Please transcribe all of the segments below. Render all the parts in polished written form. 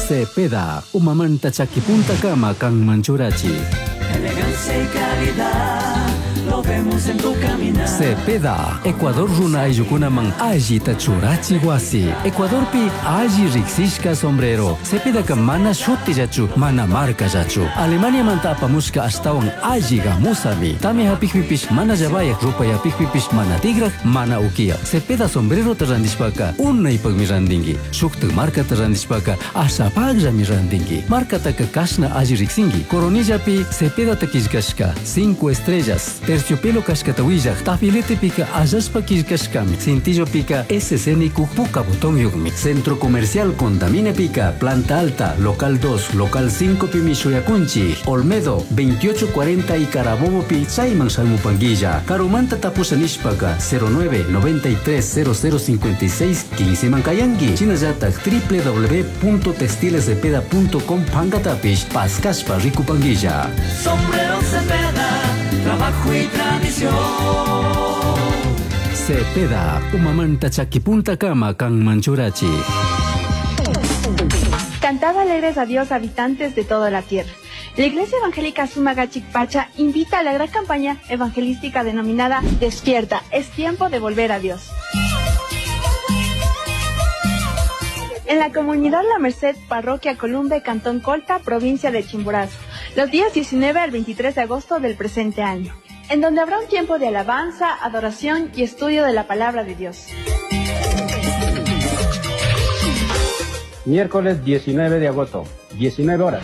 Cepeda, umamanta chakipuntakama kanman churachi. Elegancia y calidad, lo vemos en tu caminar. Cepeda, Ecuador runa ayllukunaman allita churachi wasi. Ecuadorpi alli riksishka sombrero. Cepedaka mana shutillachu, mana markallachu. Alemaniamanta apamushka ashtawan alli gamusami. Tamya hapikpipish mana llavayak, rupay hapikpipish mana tigraj, mana ukiyak. Cepeda sombrerota randishpaka unaypakmi randinki. Shuktak markata randishpaka ashapakllami randinki. Markataka kashna alli riksinki. Coronillapi Cepedata killkashka 5 estrellas. Terciopelo kashkata willaj. Tafiletepika allashpa killkashkami. Cintillopika SC nikuj puka botonyukmi. Centro Comercial Contaminepika, Planta Alta, Local 2, Local 5 pimi shuyakunchik. Olmedo, 2840 y Carabobo pi chayman shamupanguilla. Karumanta tapusha nishpaka 09 93 0056 15 mankayanki. Shinallatak www.textilescepeda.com pankatapish paskashpa rikupanguilla. Sombrero Cepeda, trabajo y tradición. Cepeda, umamanta chakipuntakama kanman churachi. Cantad alegres a Dios, habitantes de toda la tierra. La Iglesia Evangélica Sumagachicpacha invita a la gran campaña evangelística denominada Despierta, es tiempo de volver a Dios. En la comunidad La Merced, parroquia Columbe, Cantón Colta, provincia de Chimborazo, los días 19 al 23 de agosto del presente año, en donde habrá un tiempo de alabanza, adoración y estudio de la palabra de Dios. Miércoles 19 de agosto, 19 horas.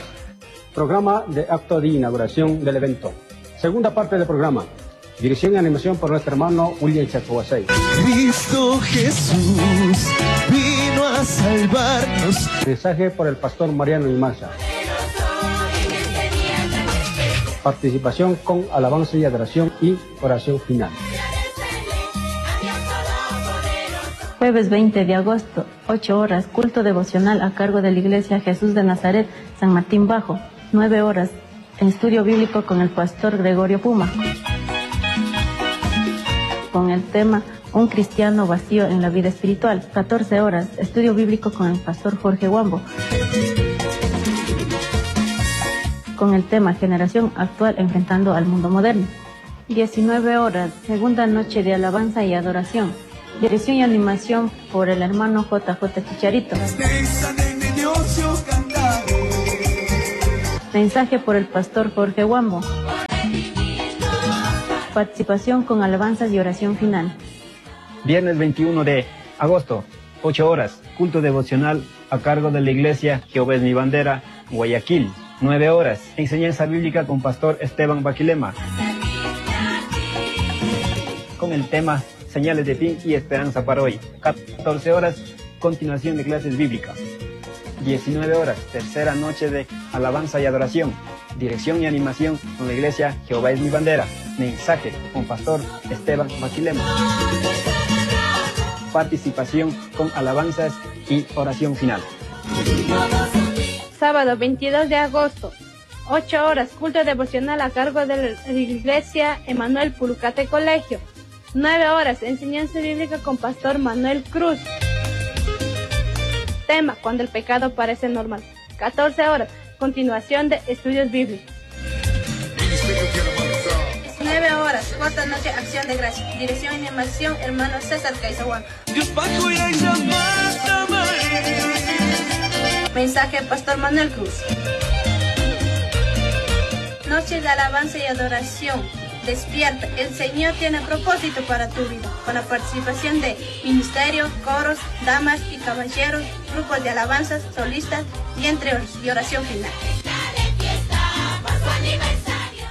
Programa de acto de inauguración del evento. Segunda parte del programa. Dirección y animación por nuestro hermano William Chacohuasey. Cristo Jesús vino a salvarnos. Mensaje por el pastor Mariano Imaza. Participación con alabanza y adoración y oración final. Jueves 20 de agosto, 8 horas, culto devocional a cargo de la Iglesia Jesús de Nazaret, San Martín Bajo, 9 horas, estudio bíblico con el pastor Gregorio Puma. Con el tema Un cristiano vacío en la vida espiritual, 14 horas, estudio bíblico con el pastor Jorge Huambo. Con el tema Generación actual enfrentando al mundo moderno. 19 horas, segunda noche de alabanza y adoración. Dirección y animación por el hermano JJ Chicharito. Mensaje por el pastor Jorge Huambo. Participación con alabanzas y oración final. Viernes 21 de agosto, 8 horas, culto devocional a cargo de la iglesia Jehová es mi bandera, Guayaquil. 9 horas, enseñanza bíblica con pastor Esteban Baquilema. Con el tema Señales de fin y esperanza para hoy. 14 horas, continuación de clases bíblicas. 19 horas, tercera noche de alabanza y adoración. Dirección y animación con la iglesia Jehová es mi bandera. Mensaje con pastor Esteban Baquilema. Participación con alabanzas y oración final. Sábado 22 de agosto, 8 horas, culto devocional a cargo de la iglesia Emanuel Pulucate Colegio. 9 horas, enseñanza bíblica con pastor Manuel Cruz. Tema, cuando el pecado parece normal. 14 horas, continuación de estudios bíblicos. 19 horas, cuarta noche, acción de gracia. Dirección y animación, hermano César Caizahuán. Mensaje, pastor Manuel Cruz. Noche de alabanza y adoración. Despierta, el Señor tiene propósito para tu vida, con la participación de ministerio, coros, damas y caballeros, grupos de alabanzas, solistas y entre otros, y oración final.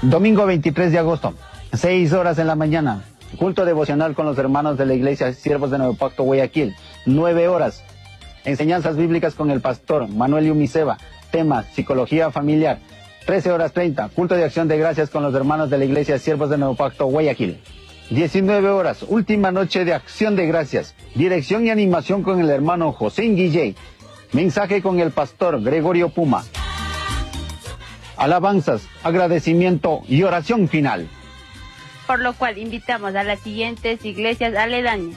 Domingo 23 de agosto, 6 horas en la mañana, culto devocional con los hermanos de la iglesia Siervos de Nuevo Pacto Guayaquil, 9 horas, enseñanzas bíblicas con el pastor Manuel Yumiseba, tema psicología familiar, 13 horas 30, culto de acción de gracias con los hermanos de la iglesia Siervos de Nuevo Pacto Guayaquil. 19 horas, última noche de acción de gracias, dirección y animación con el hermano José Guilley, mensaje con el pastor Gregorio Puma. Alabanzas, agradecimiento y oración final. Por lo cual invitamos a las siguientes iglesias aledañas.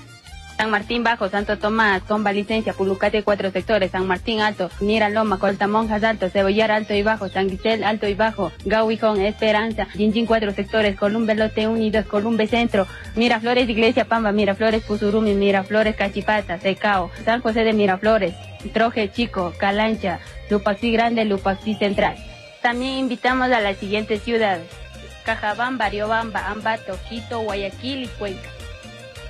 San Martín Bajo, Santo Tomás, Comba Licencia, Pulucate cuatro sectores, San Martín Alto, Mira Loma, Coltamonjas Alto, Cebollar Alto y Bajo, San Guisel Alto y Bajo, Gauijón, Esperanza, Jinjin cuatro sectores, Columbe Lote Unidos, Columbe Centro, Miraflores Iglesia Pamba, Miraflores Pusurumi, Miraflores Cachipata, Secao, San José de Miraflores, Troje Chico, Calancha, Lupaxi Grande, Lupaxi Central. También invitamos a las siguientes ciudades: Cajabamba, Riobamba, Ambato, Quito, Guayaquil y Cuenca.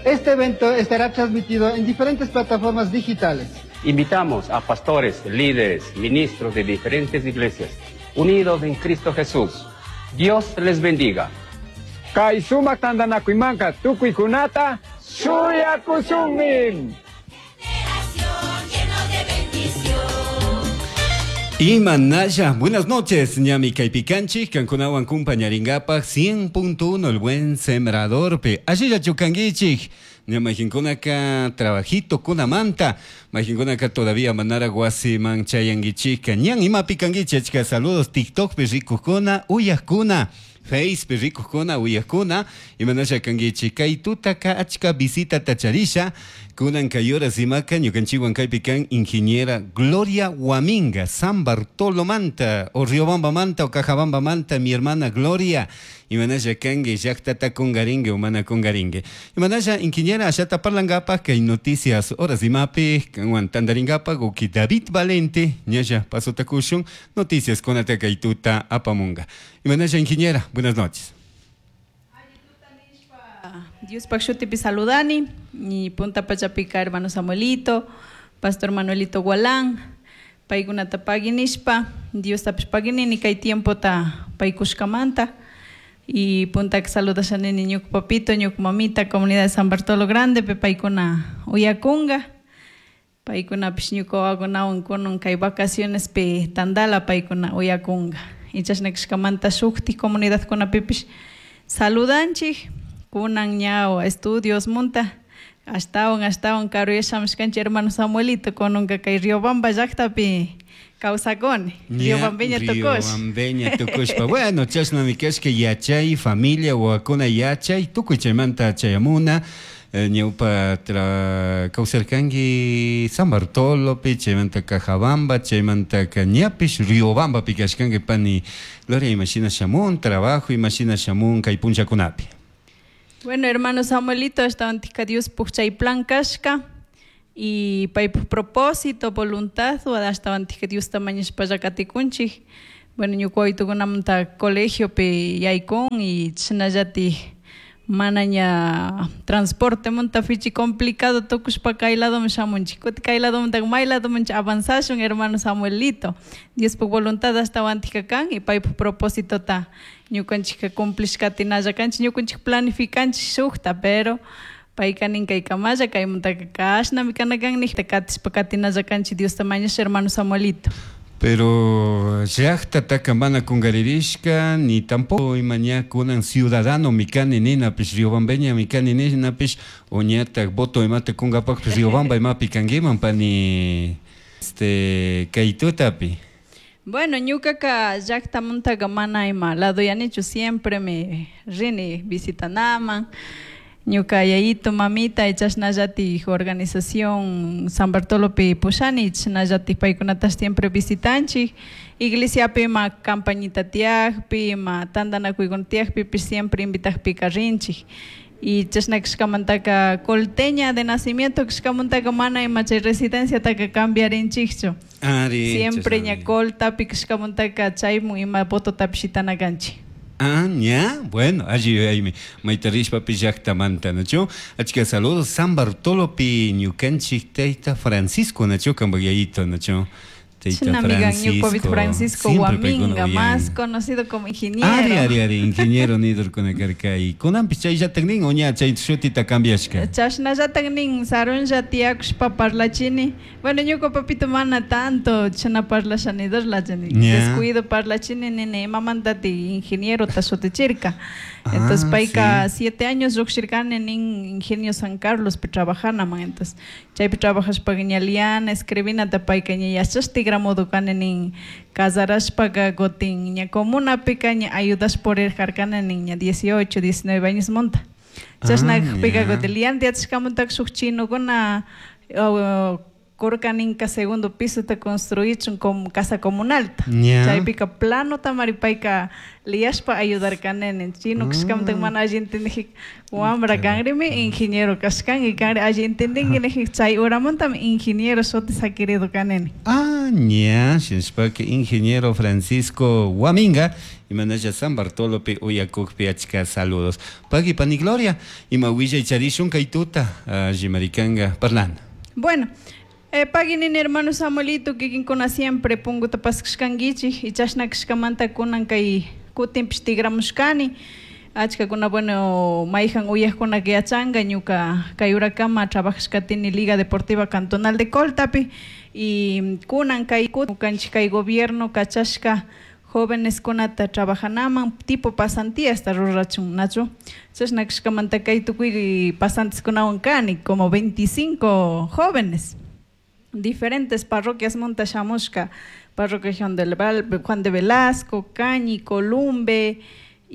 Este evento estará transmitido en diferentes plataformas digitales. Invitamos a pastores, líderes, ministros de diferentes iglesias, unidos en Cristo Jesús. Dios les bendiga. Kay sumak tantanakuymanta tukuykunata shuyakushunmi. Imanaya, buenas noches, ñami kaypikanchik, kankunawan kumpañaringapaj 100.1 el buen sembrador pe. Allilla chukanguichik, ña trabajito kunamanta, majinkunaka todavía manara wasiman chayanguichika, ñan imapikanguichik, achka saludos TikTok pe rikukuna, uyajkuna. Face pe rikukuna, uyajkuna, imanasha kanguichik, kay tutaka achka visita tacharisha, kunan kay horas imaka, ñukanchikwan kaypi kan ingeniera Gloria Huaminga, San Bartolo manta, o Riobamba manta, o Cajabamba manta, mi hermana Gloria, imanasha kanki, llaqtata kungaringue, o mana kungaringue. Imanasha ingeniera ashata parlangapaj, kay noticias horas imapi, kanwan tandaringapaj, uki David Valente, ñasha pasotakushun, noticias kunata kay tuta apamunga. Imanasha ingeniera, buenas noches. Dios shutipi saludani, y punta pachapica hermano Samuelito, pastor Manuelito Gualán, paykunata paginishpa, Dios tapish paginini kay tiempo ta paykushkamanta, y punta que saludashanini ñuka papito, ñuka mamita, comunidad de San Bartolo Grande, pe paykuna uyakunga, paykunapish ñuka wawakunawan kunan kay vacaciones pe tandala paykuna uyakunga. Y chashna kashkamanta shuktik comunidadkunapipish saludanchik, kunan ña estudios munta, ashtawan ashtawan karuyashamishkanchik hermano Samuelito, kunanka kay Riobamba llaqtapi kawsakuni, Riobambeña tukush. Riobambeña tukushpa. Bueno, chashnami kashka yachay, familia, wawakuna yachay, tukuy chaymanta chayamuna, ñawpa kawsarkanki San Bartolopi, chaymanta Cajabamba, chaymanta ñapish Riobambapi kashkanki pani Gloria, imashina shamun, trabajo, imashina shamun kay punllakunapi. Bueno, hermano Samuelito, ashtawantika Dios puk chay plan kashka y paypuk propósito, voluntad, ashtawantika Diosta mañashpalla katikunchik. Bueno, ñuka wawitukunamanta colegiopi yaykun y chashnallatik mana ña transporte munta fichi complicado tukushpa kay ladoman shamunchik, kutin kay ladomantaka may ladomanchik avanzashun, hermano Samuelito. Diospuk voluntad ashtawantika kan y paypuk propósitota ñukanchikka cumplishkatinalla kanchik, ñukanchik planificanchik shukta, pero payka nin kaykamalla, kaymantaka kashnami kana kan nijta katishpa katinalla kanchik Diosta mañasha, hermano Samuelito. Pero llaqtataka mana kungaririshka, ni tampoco ima ña kunan ciudadano mikani ninapish, riobambeña mikani ninapish, o ñatak voto imata kunkapakpish Riobamba imapi kankiman pani kay tutapi. Bueno, ñukaka llaqtamuntaka mana ima laduyanichu, siempre me rini visitanaman. Ñuka yayito, mamita, y chashnallatik organización San Bartolopi pushani, chashnallatik paykunata siempre visitanchik. Iglesiapi ima campañita tiyakpi, ima tantanakuykuna tiyakpipish siempre invitakpika rinchik. Y chashna kashkamantaka colteña de nacimiento kashkamantaka mana ima chay residenciataka cambiarinchikchu. Ari, Siempre chashnami. ña coltapi kashkamantaka chaymun ima vototapish shitana kanchik. Ah, ña, bueno, allí ahí maytarishpapi llaqtamanta, ¿no? Achka saludos, San Bartolopi ñukanchik tayta Francisco, ¿no? Kanpak yayito, ¿no? Tayta China amiga, ñuka Francisco. Francisco Siempre paykuna Huaminga, uyan. más conocido como ingeniero. Ari, ari, ari, ingeniero nidurkuna karka. Y kunanpis chayllatak nin, o ña chay shutita cambiashka. Chashnallatak nin, sarunlla tiyakushpa parlachini. Bueno, ñuka papito mana tanto chashna parlasha nidurlachani. Ña. Descuido parlachini nini, imamantati ingeniero ta shutichirka. Entonces, Ah, payka sí. 7 años lluqshirkani nin Ingenio San Carlos pi trabajanaman. Entonces, chaypi trabajashpaka ña liana, escribinata payka ña yachashti tigramudu kani nin casarashpaka kutin ña comunapika ña ayudash purirjarkani nin ña 18, 19 años monta. Chashna kajpika kutin liante yachashkamantaka shuk chinokuna kurkaninka segundo pisota construichun como casa comunalta. Chaypika planota mari payka liyashpa ayudarkanini. Chino kashkamanta mana alli entendijika wambra kanrimi ingeniero kashkanki kanri alli entendinki nijik chay horamantami ingeniero shuti saquirido kanini. Ah, ña, shinashpaka ingeniero Francisco Guaminga imanalla San Bartolopi uyakukpi achka saludos. Pagui pani Gloria, ima willay charishun kay tuta allimarikanka parlana. Bueno, pagui nini hermano Samuelito kikinkuna siempre punguta paskashkankichik y chashna kashkamanta kunan kay kutinpish tigramushkani. Achkakuna bueno mayjan uyajkunaka yachanka ñuka kay urakama trabajashkatini Liga Deportiva Cantonal de Coltapi y kunan kay ñukanchik kay gobierno kachashka jóvenes kunata trabajanaman tipo pasantíasta rurachun nachu chashna kashkamanta kay tukuy pasantes kunawan kani como 25 jóvenes diferentes parroquias munta shamushka parroquia Juan de Velasco, Cañi, Columbe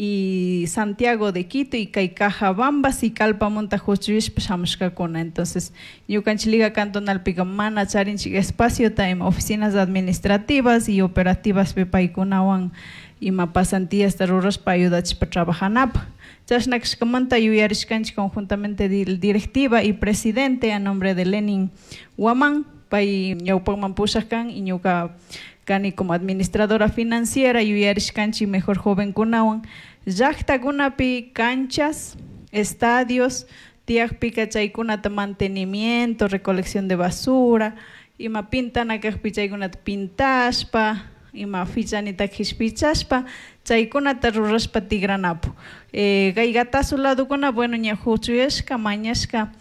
y Santiago de Quito y kay Cajabamba Sicalpamunta huchuyishpa shamushkakuna. Entonces ñukanchik Liga Cantonalpika mana charinchik espaciota ima oficinas administrativas y operativas paykunawan ima pasantíasta rurashpa ayudachishpa trabajanapaj. Chashna kashkamanta yuyarishkanchik conjuntamente directiva y presidente a nombre de Lenin Guamán, pay ñawpakman pushak kan y ñuka kani como administradora financiera yuyarishkanchik mejor jovenkunawan llaktakunapi canchas, estadios, tiyakpika chaykunata mantenimiento, recolección de basura, ima pintana kajpi chaykunata pintashpa, ima fichanita kishpichashpa, chaykunata rurashpa tigranapu. Kay Gatazo ladokuna, bueno, ña huchuyashka, mañashka,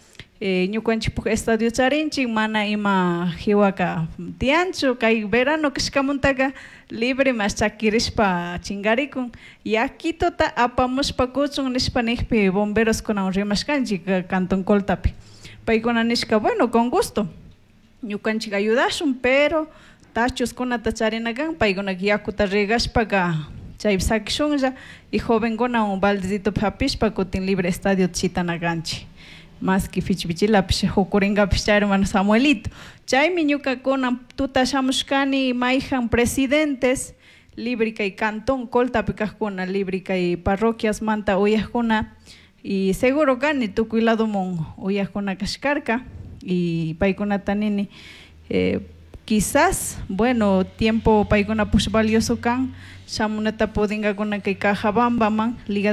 ñukanchikpuk estadio charinchik, mana ima hiwaka tiyanchu, kay verano kashkamuntaka libre mas chakirishpa chingarikun, yakituta apamushpa kuchun nishpa nijpi bomberos kunawan rimashkanchik Cantón Coltapi. Paykuna nishka, bueno, con gusto, ñukanchik ayudashun, pero tachoskunata charina kan, paykunaka yakuta regashpaka chaypi sakishunlla y jovenkunawan baldecitopi hapishpa kutin libre estadio chitana kanchik. Más que fichipichilapish hukurinkapish chay hermano Samuelito. Chaymi ñukakuna tuta shamushkani mayjan presidentes libre kay cantón Coltapi kajkuna libre kay parroquias manta uyajkuna y seguro kani tukuy ladomun uyajkuna kashkarka y paykunata nini quizás bueno tiempo paykuna push valioso kan shamunata pudingakuna kay Cajabambaman Liga